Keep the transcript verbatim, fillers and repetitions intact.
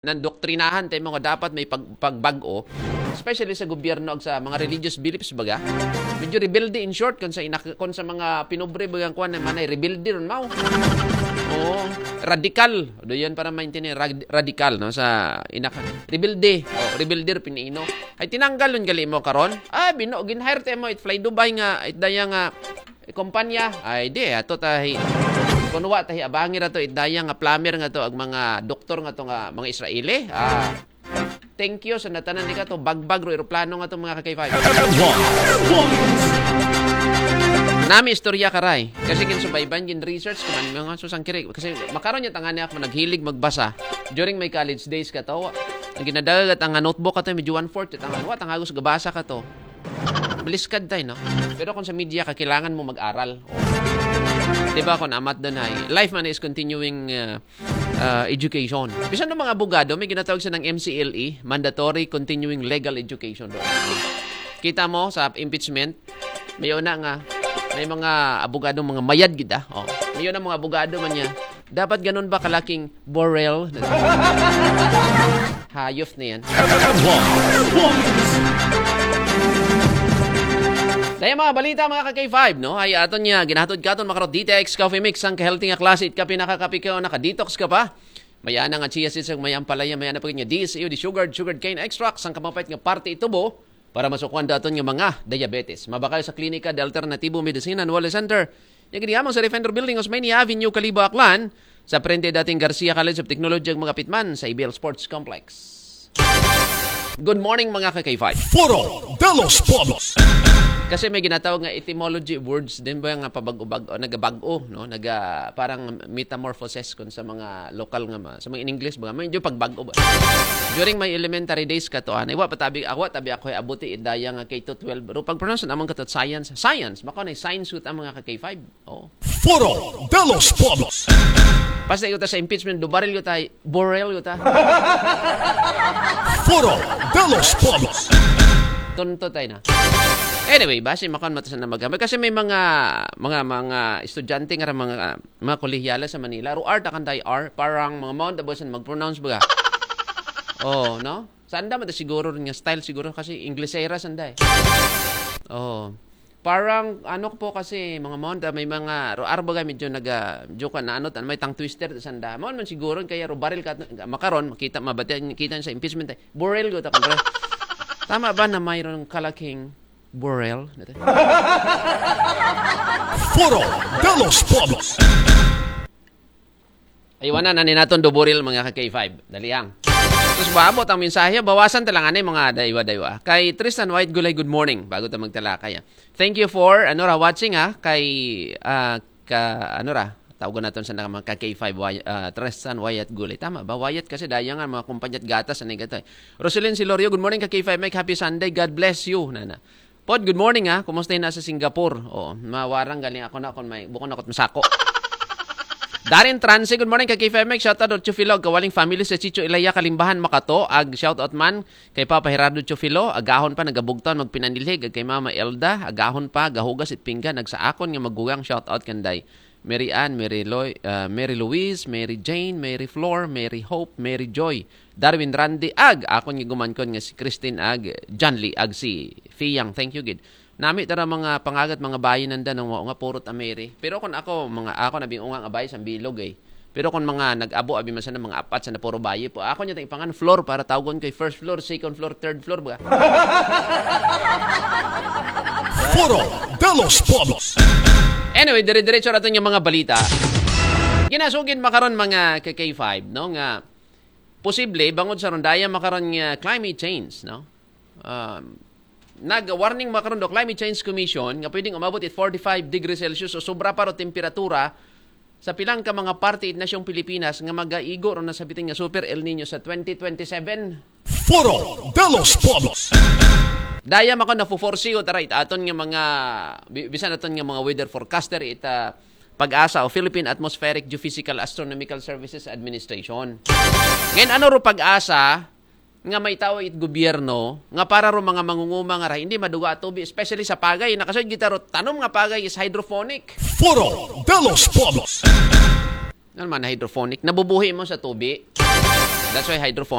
nandoktrinahan tayo mga dapat may pag, pagbag-o, especially sa gobyerno ag sa mga religious beliefs baga. Medyo rebelde in short kung sa inak, kung sa mga pinobre bagang kuan na manay rebelde ron mao. Oo, radikal. Do yan para maintindihan rad, radikal no sa inak rebelde. Oh, rebelde ro pinaino. Ay tinanggal nun gali mo karon. Ah, bino gin-hire tayo mo it Fly Dubai nga it daya nga eh, kumpanya, ay di, ato tahi. Kunwa tahi abangi ra to, idaya nga plumber nga to, ag mga doktor nga to nga mga Israeli. Ah, thank you sa natanan di ka to, bagbag ro eroplano nga to mga ka-K five. Nami istorya karay. Kasi ginsubayban, gin research ko man mga susang kiri. Kasi makaron niya tangani ako naghilig magbasa during my college days ka to. Ang ginadagat ang notebook ka to, medyo one-fourth, tangan wa, tangagos gabasa ka to. Maliskad tayo, no? Pero kung sa media ka, kailangan mo mag-aral. Di ba, kung amat doon ay, life man is continuing uh, uh, education. Bisan ng mga abogado, may ginatawag sa ng M C L E, Mandatory Continuing Legal Education. Kita mo sa impeachment, may una nga, may mga abogado, mga mayad gid ah. Oh. May una mga abogado man niya. Dapat ganun ba kalaking Borel? Hayop na yan. Dahil mga balita, mga ka-K five, no? Ay aton niya, ginahatod ka aton makarot D T X Coffee Mix, ang ka-healthy nga klase, it ka pinakakapikaw, naka-detox ka pa. May ana nga chia seeds, may ampalaya, may ana pa nga D S U, di sugared, sugared cane extracts, ang kamapait nga parte itubo, para masukwan daton nga mga diabetes. Mabakal sa klinika, the Alternatibo Medicine and Wellness Center. Yung giniamang sa Defender Building, Osmeña Avenue, Kalibo, Aklan, sa prende dating Garcia College of Technology, ang mga pitman sa Ibiel Sports Complex. Good morning, mga ka-K five. Foro de los Pueblos. Kasi may ginatawag nga etymology words din ba nga pabag-o-bag-o, nagabag-o, no? Naga, parang metamorphosis kun sa mga lokal nga ma-, sa mga in English ba, medyo pagbago ba. During my elementary days ka to, ah, wa pa tabi, ako, tabi ako ay abuti idaya nga K to twelve. Pero pag pronounce naman ka to, science. Science, mako na science with ang mga ka-K five. Oh. Foro de los Pueblos. Basta ito sa impeachment, dubaril ko tayo, borel ko ta. Foro de los Pueblos. Tonto tayo na. Anyway, base makon matasan na magamit. Kasi may mga, mga, mga estudyante nga mga, mga kolehiyala sa Manila. Ro art akan tayo R, parang mga Mount Abusan mag-pronounce baga. Oh, no? Sanda man ta siguro rin nga style siguro kasi Inglesera sanda eh. Oh. Parang ano po kasi mga Mount, ah, may mga ro-, R baga medyo naga joke na ano tan may tongue twister ta sanda. Mao man siguro kaya ro baril ka makaron makita mabati kita sa impeachment eh. Borel go ta kontra. Tama ba na mayroong kalaking Borel? Foro de los Pueblos. Aywanan na ni naton duburil mga ka-K five. Dali ang. Tapos baabot ang mensahe, bawasan ta lang anay mga daywa-daywa. Kay Tristan White Gulay, good morning. Bago ta magtalakay. Ah. Thank you for ano ra watching ha. Kay ah, ka ano ra, tawagan naton sa mga ka-K five Wy-, ah, Tristan Wyatt Gulay. Tama ba? Wyatt kasi daya nga mga kumpanya at gatas sa negatoy. Roselyn Silorio, good morning ka-K five Mike. Happy Sunday. God bless you. Nana. Pod, good morning ha. Kumusta na sa Singapore? Oh, mawarang galing ako na kung may bukon ako at masako. Darren Transe, good morning ka-K five Mike. Shout out to Chufilog, kawaling family sa Chicho Ilaya, Kalimbahan, Makato. Ag shout out man kay Papa Gerardo Chufilo, agahon pa nagabugtaw magpinanilhig, ag kay Mama Elda, agahon pa gahugas it pinggan, ag sa akon nga magugang shout out kanday. Mary Ann, Mary Loy, ah, Mary Louise, Mary Jane, Mary Flor, Mary Hope, Mary Joy, Darwin Randy, ag akon nga gumankon nga si Christine, ag John Lee, ag si Fiyang. Thank you gid. Nami tara mga pangagat, mga bayi nanda nang wa nga purot a Mary. Pero kung ako, mga ako nabing unga nga bayi sa bilog eh. Pero kung mga nag-abo abi man sana mga apat sa na puro bayi po. Ako niya tayong pangan floor para tawgon kay first floor, second floor, third floor ba? Foro de los Pueblos. Anyway, dire-diretso natin yung mga balita. Ginasugid makaron mga ka-K five, no, nga posible bangod sa rondaya makaron nga climate change, no? Um, nag-warning makaron do Climate Change Commission nga pwedeng umabot it forty-five degrees Celsius o sobra pa ro temperatura sa pilang ka mga parte it nasyong Pilipinas nga magaigo ro na sa bitin nga Super El Nino sa twenty twenty-seven. Foro de los Pueblos. Daya mako na foresee ko taray aton nga mga bi-, bisan aton nga mga weather forecaster ita PAGASA o Philippine Atmospheric Geophysical Astronomical Services Administration. Ngayon, ano ro PAGASA nga may tao it gobyerno nga para ro mga mangunguma nga ra hindi maduga at tubi, especially sa pagay. Nakasud kita ro, tanom nga pagay is hydroponic. Foro de los Pueblos. Ano man hydroponic? Nabubuhi mo sa tubi. That's why hydrophonic.